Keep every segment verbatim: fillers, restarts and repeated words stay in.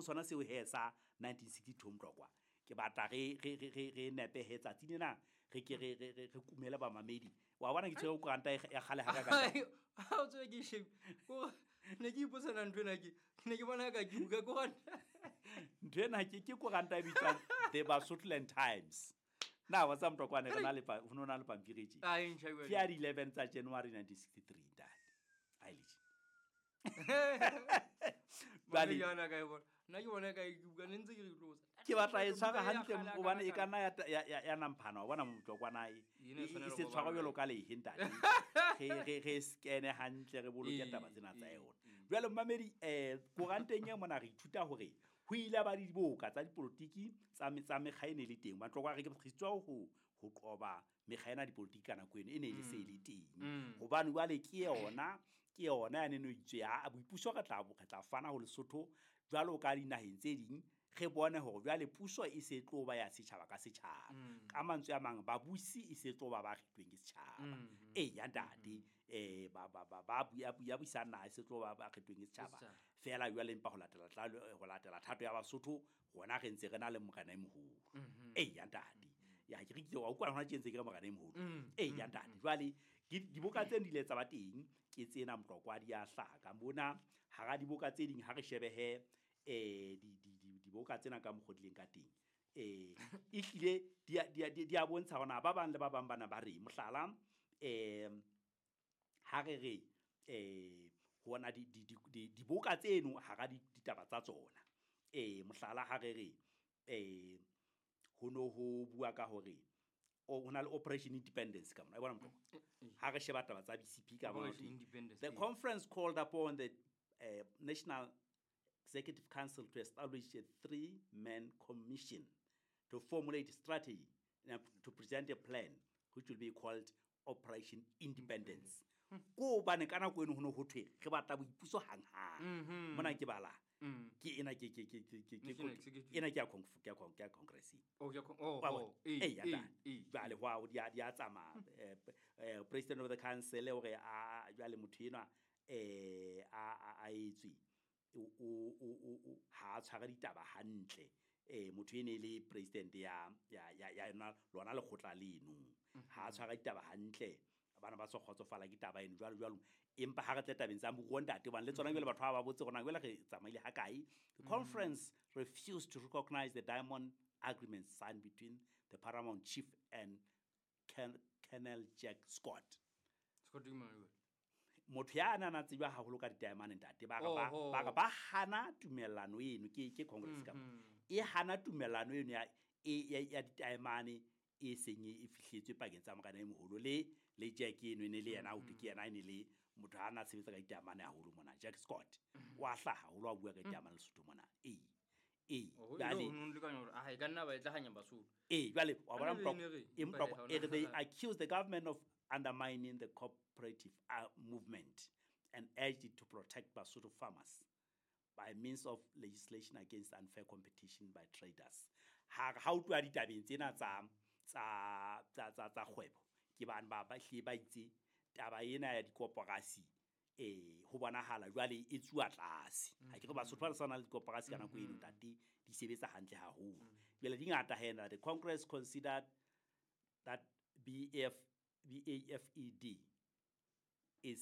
sona seo he sa nineteen sixty-two Mtlokwa ke batla re re re re re nepe he tsatsi lena re ke re re re kumele ba mamedi wa bona ke tshwere koranta ya kgale ha ka ka ha o tswe ke shebe ko ne ke ipotsana ntho ena ke ne ke bona ka ke buka koranta ntho ena ke ke koranta e bitswang The Basotholand Times. Na wa tsa Mtlokwane re na le pa ho na le pampiri tje a e ntjha ke ya eleven tsa January nineteen sixty-three ntate a ile bale yana ka e bona nna ke bona ka ke buka ne ntse ke re tlosa ke batla e tshwara hantle hobane e ka nna ya ya namphana wa bona Mtlokwana e e se tshwara jwalo ka lehe ntate re re re scan hantle re boloke taba tsena tsa yona. Jwale mmamedi eh koranteng ya mona re ithuta hore ho ile ba diboka tsa dipolotiki tsa tsa mekga e ne le teng Mtlokwa re ke tswa ho ho qoba mekga ena dipolotiki ka nako eno e ne e le se le teng hobane jwale ke yona ke yona ya neno itswe ya boipuso re tla re tla fana ho Lesotho jwalo ka dinaheng tse ding re bone hore jwale puso e se tlo ba ya setjhaba ka setjhaba ka mantswe a mang babusi e se tlo ba ba kgethweng ke setjhaba e ya ntate eh ba ba ba ba ya ya buisana e se tlo ba ba kgethweng ke setjhaba fela jwale empa ho latela tla ho latela thato ya Basotho rona re ntse re na le morena e moholo e ya ntate ya ke re ke wa utlwa hona tje ntse ke re morena e moholo e ya ntate jwale diboka tse di ile tsa ba teng ke tsena Mtlokwa di a hlaka mona hara diboka tse ding ha re shebehe eh di di diboka tsena ka mokgodileng ka teng eh e hlile di di di a bontsha hona ba bang le ba bang bana ba re mohlala eh ha re re eh hona di di diboka tseno hara ditaba tsa tsona eh mohlala ha re re eh ho no ho bua ka hore o hona le Operation Independence ka mona e bona Mtlokwa ha re sheba taba tsa B C P ka mona the conference called upon the uh, National Executive Council to establish a three-man commission to formulate a strategy and to present a plan which will be called Operation Independence. Ko bane kana ko eno ho no ho thwe re batla boipuso hang hang mona ke bala ke ena ke ke ke ke ke ena ke ya ke ya congress oh ya oh eh ya jwale ho di a tsamaya president of the council hore a jwale motho enwa eh a a etswe o o o ha tshwara ditaba hantle eh motho ene le president ya ya ya ya lona lekgotla leno ha tshwara ditaba hantle bana ba so kgotsofala ke taba eno jwalo jwalo empa ha re tle tabeng tsa moruo ntate bana le tsona jwale batho ba ba botse rona jwale re tsamaile ha kae. The conference refused to recognize the diamond agreement signed between the paramount chief and Colonel Jack Scott. Scott motho ya ana na tseba haholo ka diamond ntate ba ba ba ba hana tumellano eno ke ke congress ka e hana tumellano eno ya ya diamond e seng e fihletswe pakeng tsa morena e moholo le le Jack eno ne le yena o ke yena ene le motho ha na sebetsa ka diamond haholo mona Jack Scott wa hlaha haholo a bua ka diamond Lesotho mona e e jwale no le ka hore a e ka nna ba etla hanya Basotho e jwale wa bona Mtlokwa e Mtlokwa e they accuse the government of undermining the cooperative uh, movement and urged it to protect Basotho farmers by means of legislation against unfair competition by traders. Ha ha utlwa ditabeng tsena tsa tsa tsa tsa tsa kgwebo ke bana ba ba hle ba itse taba ena ya dikoporasi eh ho bonahala jwale e tsuwa tlase ha ke re Basotho ba sana le dikoporasi ka nako eno ntate di sebetsa hantle haholo jwale di ngata hena. The Congress considered that B F B A F E D is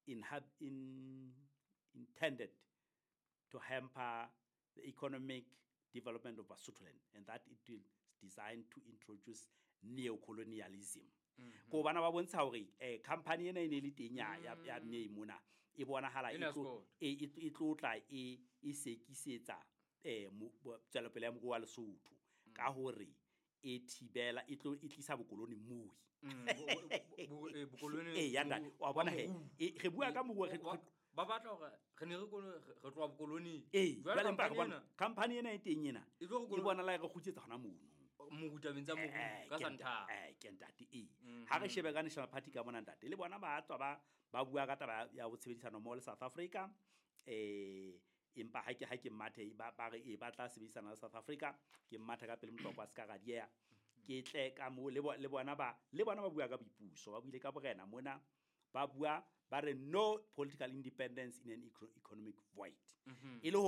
in, in intended to hamper the economic development of Basotholand and that it will designed to introduce neocolonialism. Ko bana ba bontsha hore eh company ena e ne le teng ya ya ne mona e bonahala e tlo e tlotla e e sekisetsa eh tswelopele ya moruo wa Lesotho ka hore e thibela e tlo e tlisa bokoloni moi bokoloni e ya ntate wa bona he re bua ka moruo re ba batla hore re ne re kono re tloa bokoloni e jwale mpa bona company ena e teng ena e bona la re kgutsetsa hona mono morutabeng tsa moruo ka santha eh ke ntate e ha re shebe ka National Party ka bona ntate le bona ba tswa ba ba bua ka taba ya ho tshebedisana mmoho le South Africa eh empa ha ke ha ke mathe ba ba re e ba tla sebedisana le South Africa ke mathe ka pele Mtlokwa ska ga diea ke tle ka mo le le bona ba le bona ba bua ka boipuso ba buile ka borena mona ba bua ba re no political independence in an economic void e le